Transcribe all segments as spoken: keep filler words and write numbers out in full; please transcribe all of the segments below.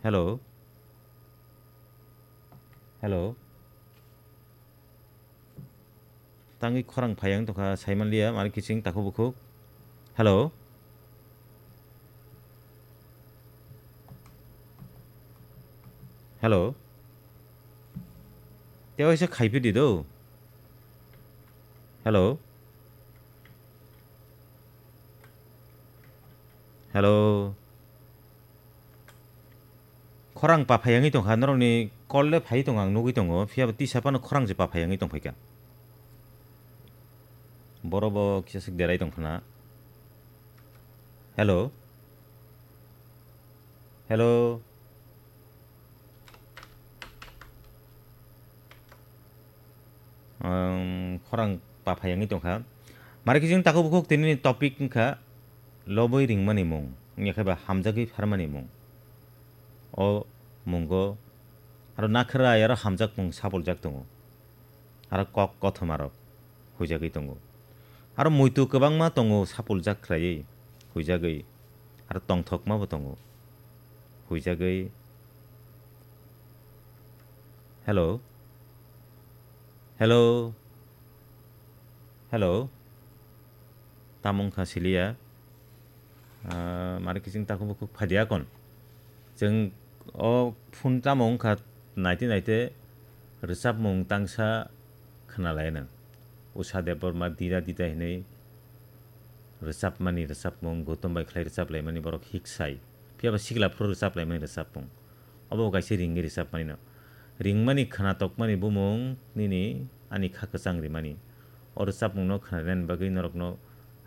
Hello. Hello. Tangwi khorang phai ang tongkha, saimanliya, mari kiching takhuk bukhuk. Hello. Hello. Tei waisa khaiphidi do. Hello. Hello. Khorang pa phai wngwi tongkha, norokni call le phai tongo, ang nugwi tongo, phiya ba tisa phano khorang je pa phai wngwi tongphaikha. Borok bo kisa swk derai tongphana. Hello. Hello. Ang khorang pa phai wngwi tongkha. Mari kiching takhuk bukhuk tini topic wngkha lobwi ringmani mung, wngya khe ba hamjagwi pharmani mung. O mungo aro nakhwrai aro hamjakmung sapuljak tongo. Aro kok kothomarok huijagwi tongo. Aro muitu kwbangma tongo sapuljak khlaiwi huijagwi. Aro tongthokmabo tongo huijagwi. Hello. Hello. Hello. Tamo wngkha siliya. Ah, mari kiching takhuk bukhuk phaidi akon. Chwng o phone tamo wngkha naite naite rwchapmung tangsa khwnalainw. Usha Debbarma Dida Dida hinwi rwchapmani rwchapmung, Gautam bai khlai rwchaplaimani borok hik sai. Phiya ba sikla phuru rwchaplaimani rwchapmung. Obo kaisa ringwi rwchapmani no. Ringmani khwnatokmani bumung nini ani kha kwchang rimani. O rwchapmungno khwnarwknani bagwi norokno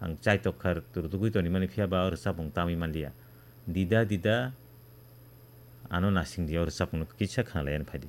ang chaitok kha rwtugwi tonimani, phiya ba o rwchapmung tamwi manliya. Dida dida ano nasing di, o rwchapmungno kisa khwnalaiyani phaidi.